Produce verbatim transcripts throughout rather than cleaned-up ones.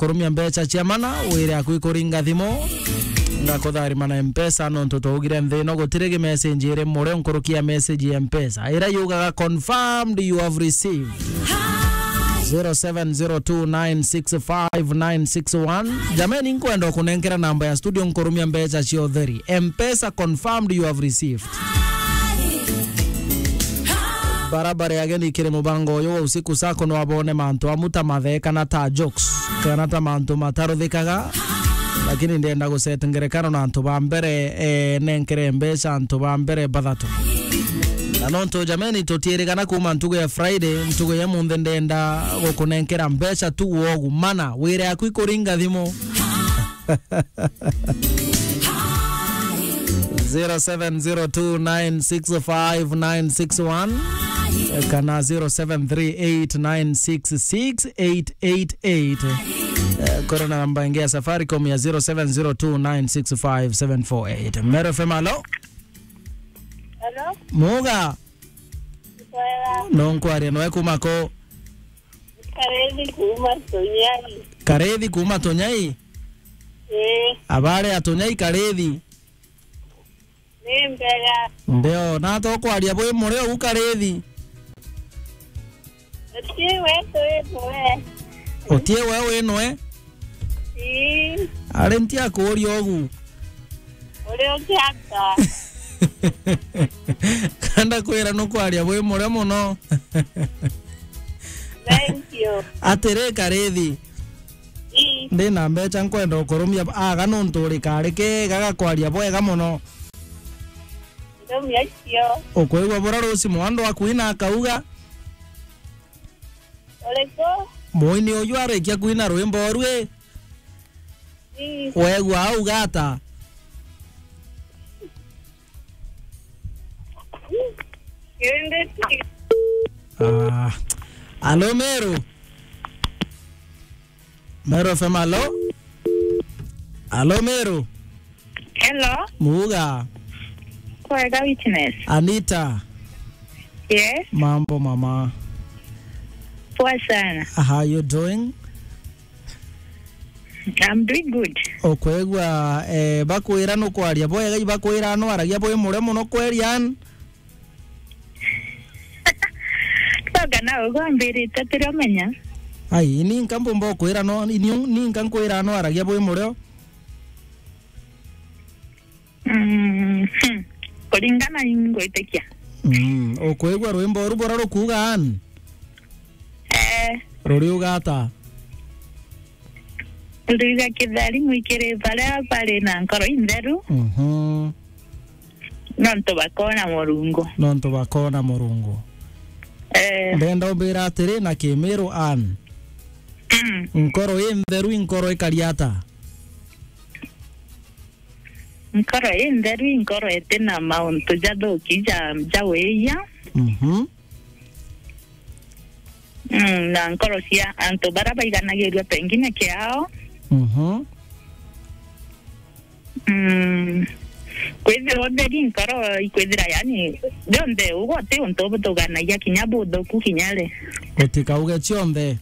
kurumia mbeca cia mana, wire aku ikuringa thimu. Ngakutharima na Mpesa, nontu twaugire nthi ino gutiri gi message iri murio nkuruki ya message ya Mpesa. Ira yugaga confirmed you have received. Zero seven zero two nine six five nine six one. Jameni, nkwenda kunenkera namba ya studio nkurumia mbeca cia utheri. Mpesa confirmed you have received. Barabara ya ageni kiri mubango uyu wa usiku sako no abone mantu amu ta mathe kana ta jokes, kana ta mantu mataruthikaga. Lakini ndenda guset ngerekano na antu ba mbere, eh, nenkere mbeca antu ba mbere bathatu. Na nontu jameni, tutiirigana kuuma ntugu ya Friday, ntugu ya munthe ndenda gukunenkera mbeca tu wogu mana, wire aku ikuringa thimu. Zero seven zero two nine six five nine six one kana zero seven three eight nine six six eight eight eight. Eh, kuri na namba ingi ya Safaricom ya zero seven zero two nine six five seven four eight. Meru F M, alo? Hello? Muga? Kwega. No nkwaria noe kuma ko? Karethi kuma Tunyai. Karethi kuma Tunyai? Ii. Abare a Tunyai Karethi? Ni mbega. Ndio, na to kwaria bwi murio u Karethi? Utie we twi nwe. Utie we wi nwe? Ii. Ari ntia kuuria ugu. Uri ukiata? Kanda kwira nukwaria bwi murio muno. Thank you. Atiri Karethi. Ii. Ndi na mbeca nkwenda ukurumia aga nuntu uri kari kega gakwaria bwega muno. Ndumia cio. Ukwigua bura ruci mwandu akuina akauga? Uriku? Muini uyu arikia kuina rwimbo rwi, ii, wegua auga ata? Kirindi ti. Ah. Alo, Meru? Meru F M, alo? Alo, Meru? Hello. Muga. Kwega, Witness. Anita. Yes. Mambo, mama. Poa sana. How you doing? I'm doing good. Ukwigua, eh, bakwira nukwaria bwega, ibakwira no aragia bwi murio muno kweri, an? Toga na ugambirite tiramenya. Ai, ni nka mbumba ukwira no, ni, ni nka nkwira no aragia bwi murio? Mm, hmm. Kuringana ingwitikia. Mm, ukwigua rwimbo ru bura rukuuga, an? Eh. Ruriuga ata? Ruriuga, kitheri mwikire baria bari na nkoro intheru. Mhm. Nontu bakona Murungu. Nontu bakona Murungu. Eh. Ndenda umbira atiri na Kimiru, an? Mm. Nkoro intheru i nkoro ikari ata? Nkoro intheru i nkoro itina mauntu jathuki ja, ja wiia. Mhm. Mm, na nkoro cia antu baria baiganagirua pengine kiao. Mhm. Mm, kwithirwa utheri nkoro ikwithira, yani, rionthe ugo ti untu buthuganagia kinya buthuku kinya ri. Utikauge cionthe.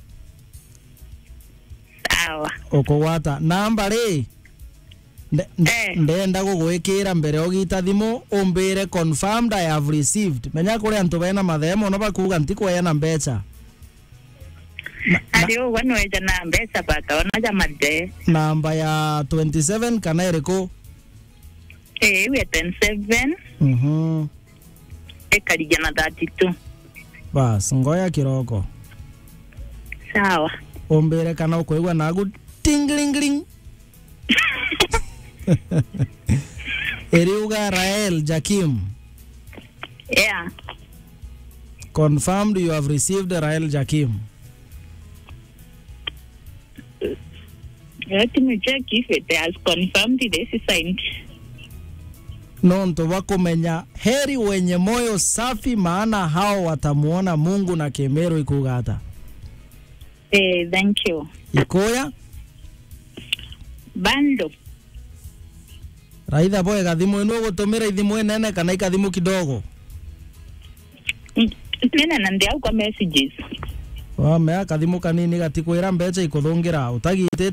Sawa. Ukugwata namba ri? Nde-, nde-, eh, ndenda gugwikira mbere ugita thimu, umbire confirmed I have received. Menya kuri antu bena mathemo no bakuga ntikweana mbeca. Na, na ari ugwe nweja na mbeca baka ona ja mathe. Namba ya twenty seven kana iriku? Eh, iu ya ten seven. Mhm. Ikarigia na thirty-two. Bas, ngoya kiroko. Sawa. Umbire kana ukwigua nagu tingling. Iriuga Rael Jakim. Yeah. Confirmed you have received Rael Jakim. Let me check if it has confirmed this side. Nontu bwa kumenya, heri wenye moyo safi, maana hao watamuona Mungu, na Kimiru ikuuga ata? Eh, thank you. Ikuya? Bando. Raitha bwega, thimu ino ugutumira ithimu inene kana ikathimu kidogo? N-, nene na ndi au kwa messages. Wamea kathimu kanini gatikwira mbeca ikuthungira utagitite.